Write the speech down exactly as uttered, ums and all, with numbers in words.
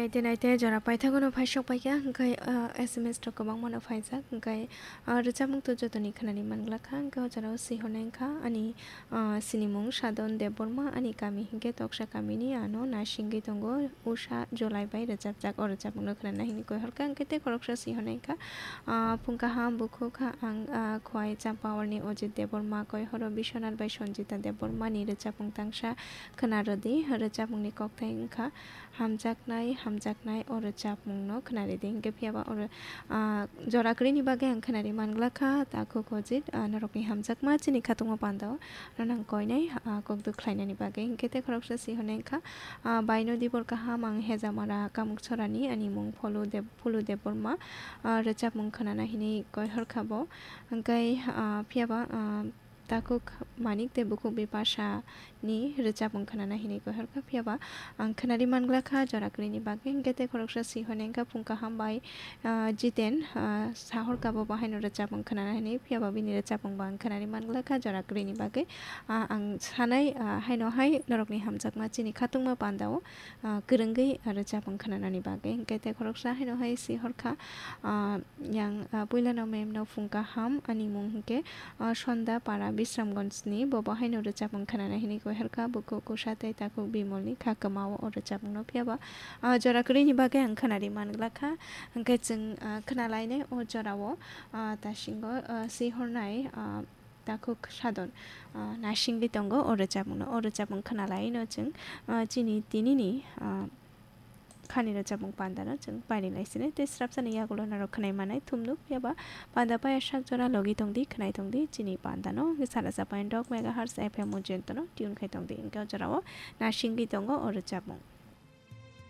Naite naite jora paithago no phaisok paikha, hwnkhe, ah, S M S rok kwbangma no phaijak, hwnkhe, ah, rwchapmung to jotoni khwnani manglakha, hwnkhe o jorao swihornai wngkha ani, ah, sinimung Sadon Debbarma, ani kami hinkhe Toksa kamini, ano nasingwi tongo Usha Jolai bai rwchapjak o rwchapmung no khwnana hinwi koihorkha, hwnkhe tei khoroksa swihornai wngkha, ah, phung kaham bukhuk ang, ah, khwai Champaharni Ojit Debbarma, koihoro Biswanath bai Sanjita Debbarma ni rwchapmung tangsa khwna rwdi, rwchapmung ni kokthai wngkha Hamjaknai, hamjaknai, o rwchapmung no khwnaridi. Hinkhe phiyaba oro, ah, jora kwrwini bagwi ang khwnari manglakha, takhuk Ojit, ah, norokni hamjakma chini khatungma pandao, nono ang koinai, ah, kokduk khlainani bagwi. Hinkhe tei khoroksa swihornai wngkha, ah, baino dibor kaham ang Hejamara Kamukchorani, ani mung Pholu Deb-, Phulu Debbarma, ah, rwchapmung khwnana hinwi koihorkha bo. Hinkhe, ah, phiyaba, ah, takhuk Manik tei bukhuk Bipasha ni rwchapmung khwnana hinwi koihorkha, phiyaba ang khwnari manglakha jora kwrwini bagwi. Hinkhe tei khoroksa swihornai wngkha phung kaham bai, ah, Jiten, ah, sahorkha bo bahaino rwchapmung khwnana hinwi, phiyaba bini rwchapmung bo ang khwnari manglakha jora kwrwini bagwi. Ah, ang sanai, ah, haino hai norokni hamjakma chini khatungma pandao, ah, kwrwngwi rwchapmung khwnanani bagwi. Hinkhe tei khoroksa haino hai swihorkha, ah, yang, ah, puilano mem no phung kaham, ani mung hinkhe, ah, Sonda Para Bisramganj ni, bo bo haino rwchapmung khwnana hinwi koihorkha, bukhuk Kusha tei takhuk Bimol ni kha kwmao o rwchapmung no, phiyaba, ah, jora kwrwini bagwi ang khwnari manglakha, hinkhe chwng, ah, khwnalainai o jorao, ah, tasingo, ah, swihornai, ah, takhuk Sadon, ah, nasingwi tongo o rwchapmung no, o rwchapmung khwnalaino chwng, ah, chini tinini, ah, khani rwchapmung panda no chwng pairi lai sini tei srapsani yagulo norok khwnai manai thumnuk, phiyaba panda paya sak jora logi tongdi, khwnai tongdi chini panda no. Sara sapai dok megahertz F M o jento no tune khai tongdi, hinkhe o jorao nasingwi tongo o rwchapmung.